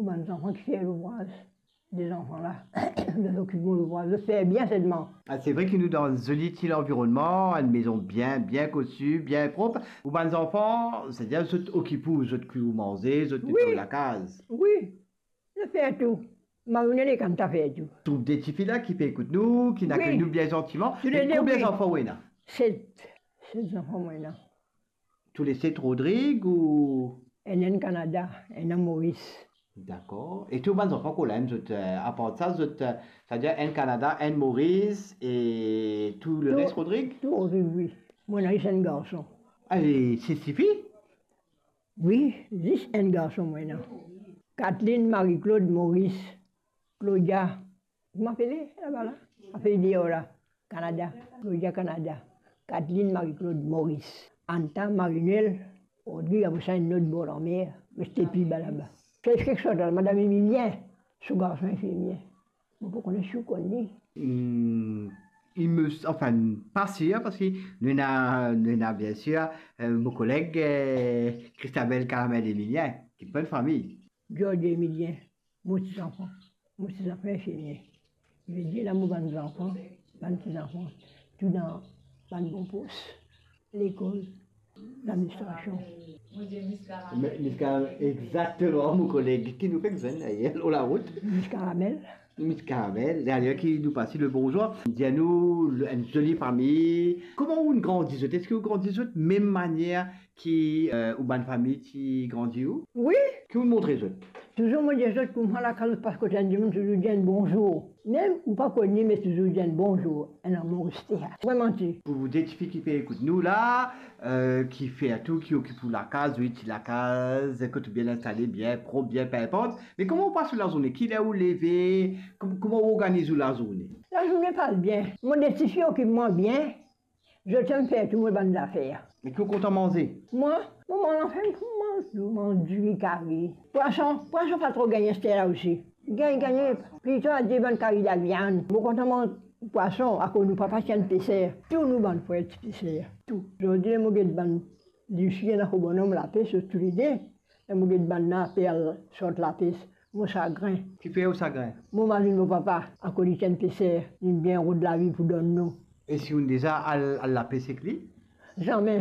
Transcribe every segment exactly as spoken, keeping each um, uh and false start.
Bann zanfan ki fer louvraz, de zanfan la, zot okip mo louvraz, zot fer bien selman. Ah, se vre ki nou dan enn zoli ti lanvironnman, enn mezon bien, bien kosi, bien prop. Ou bann zanfan, setadir zot okip ou, zot kwi ou manze, zot netway lakaz. Wi, zot fer tou. Marinel ek Anta fer tou. Troup de tifi la ki pe ekout nou, ki akey nou bien zantiman. Tou le de, wi. Konbien zanfan ou ena? Set. Set zanfan mo ena. Tou le set Rodrig ou? Enn, enn Kanada, enn Moris. Dakor. E tou bann zanfan ki la, zot, eh, apar sa, zot, eh, setadir enn Kanada, enn Moris e tou leres Rodrig? Tou Rodrig, wi. Mo ena zis enn garson. Ah, e se sifi? Wi, zis enn garson mo ena. Katlin, Marie-Claude, Moris, Claudia, kouma apele laba la? Apel deor la, Kanada. Claudia Kanada. Katlin, Marie-Claude, Moris, Anta, Marinel, Rodrig, apre sa enn lot bor lanmer, me se pli ba laba. Sa kiksoz la, Madam Emilien, so garson infirmie. Mo pa kone si ou konn li. Hmm, il me, enfin, pa sir, parski nou ena, nou ena, bien sir, eh, mo koleg, eh, Christabel Caramel Emilien, ki bann fami. George Emilien, mo ti zanfan, mo ti zanfan infirmie. Li ve dir la mo bann zanfan, bann ti zanfan, tou dan bann bon pos. Lekol, ladministrasion. Me, Miss Caramel, exakteman, mo koleg. Ki nou fek zwenn dayer lor larout. Miss Caramel. Miss Caramel, dayer ki nou pas li le bonzour. Dir nou, le, enn zoli fami. Kouma ou grandi zot? Eski ou grandi zot mem manier ki, eh, ou bann fami ti grandi ou? Wi. Ki ou montre zot? Touzour mo dir zot, kouma lakaz ou pas kot enn dimoun, touzour dir enn bonzour. Mem ou pa konn li, me touzour dir enn bonzour, enn amour reste. Vremem ti. Pou de tifi ki pe ekout nou la, eh, ki fer tou, ki okip ou lakaz, wi, ti lakaz, kot ou bien instale, bien prop, bien pinpant. Me kouma ou pas ou lazourne? Kiler ou leve? Kom-, kouma ou organiz ou lazourne? Lazourne pas bien. Mo de tifi okip mwa bien. Zot inn fer tou mo bann zafer. Me ki ou kontan manze? Mwa, mo manz, anfin, mo manz, mo manz diri, kari. Pwason, pwason pa tro gagn aster la osi. Gagn, gagn, plito adir bann kari laviann. Mo kontan manz pwason, akoz nou papa ti enn peser. Tou nou bann frer ti peser, tou. Zordi, mo get bann Lucie, ena ko bonom lapes, zot toulede. E mo get bann la pe al sort lapes. Mo sagrin. Kifer ou sagrin? Mo mazinn mo papa, akoz li ti enn peser, li bien rod lavi pou donn nou. E si ou'nn deza al, al lapes ek li? Zame.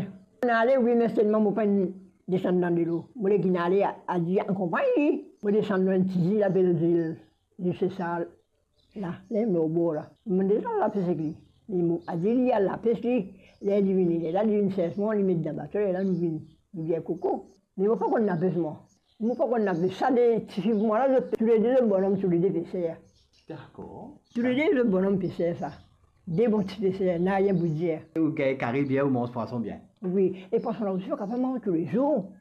Mo ale, wi, me selman mo pa'nn desann dan delo. Mo le gagn ale, a, adir akonpagn li. Mo desann lor enn ti zil apel zil, zil Sesal. La, ler mo lor bor la. Mo deza al lapes ek li. Li mo, adir li al lapes li, ler li vini, lerla li vinn sers mwa, li met dan bato, lerla nou vinn, nou vinn koko. Me mo pa konn lapes mwa. Mo pa konn lapes. Sa de tifi pou mwa la, zot toulede zot bonom, toulede peser. Dakor. Toulede zot bonom peser sa. De bon ti peser, nanye pou dir. Ou gagn kari bien, ou manz pwason bien. Wi, e pwason la osi, pa kapav manz toulezour.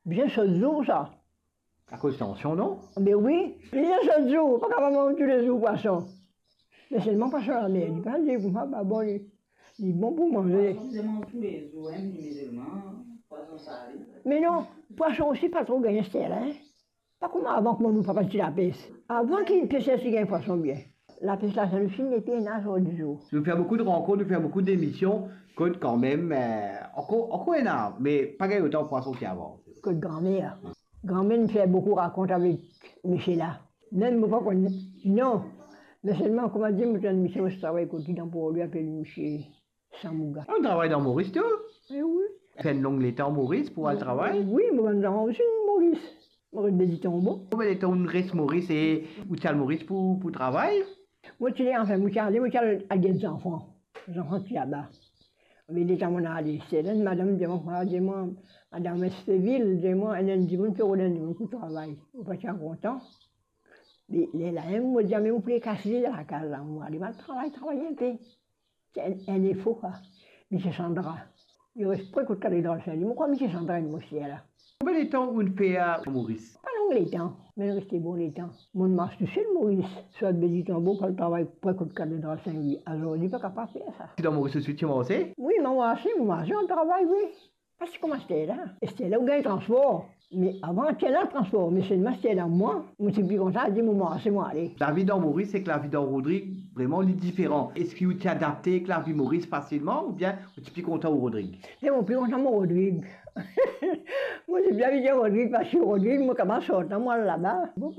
Bien sot zour sa. Akoz tansion, non? Be wi, li sot zour, pa kapav manz toulezour pwason. Me selman pwason lamer, li pa dir kouma, pa bon, li, li bon pou manze. Pwason, li manz toulezour, hein, li mizilman, pwason sale. Me non, pwason osi pa tro gagn aster la, hein. Pa kouma avan, kouma nou papa ti lapes. Avan ki peser ti gagn pwason bien. Lapes la, sa nou finn, epi ena zordi zour. Nou fer boukou de rankont, nou fer boukou demision, kot kanmem, eh, ankor, ankor ena, me pa gagn otan pwason ki avan. Kot granmer. Granmer inn fer boukou rakont avek misie la. Mem mo pa konn, non. Me selman, kouma dir, mo ti enn misie, mo ti travay kot li dan Porlwi, apel misie Samouga. Ou travay dan Moris tou? Eh wi. Fer enn long letan Moris pou al travay? Wi, mo bann zanfan osi Moris. Mo res Bedi Tonbo. Konbien letan ou res Moris e ou ti al Moris pou, pou travay? Mo ti le, anfin, mo ti ale, mo ti al, al get zanfan. Zanfan ti laba. Me letan mo ale, se la madam dir mwa, mwa, dir mwa, madam Estevil, dir mwa, enn, enn dimoun pe rod enn dimoun pou travay. Mo pa ti kontan. Me lerla, mo dir, me mo pou le kas li dan lakaz la, mo ale, mo al travay, travay enpe. Ti enn, enn efo, kwa. Misie Sandra. Li res pre kot katredral Sin-Lwi. Mo krwar misie Sandra enn mo sir la. Konbien letan ou'nn fer Moris? Pa long letan, me nou reste bon letan. Mo'nn mars tousel Moris, sot Bedi Tonbo pou al travay pre kot katredral Sin-Lwi. Azordi pa kapav fer sa. Ti dan Moris osi ti marse? Wi, mo marse, mo marse, mo travay, wi. Pa ti kouma aster la. Aster la ou gagn transpor. Me avan ti ena transpor, me selman aster la mwa, mo ti pli kontan dir mo marse, mo ale. Lavi dan Moris ek lavi dan Rodrig, vreman, li diferan. Eski ou ti adapte ek lavi Moris fasilman oubien ou ti pli kontan Rodrig? Me mo pli kontan mo Rodrig. Mo ti bien bien Rodrig, parski Rodrig, mo kapav sorti, mo al laba. Bon,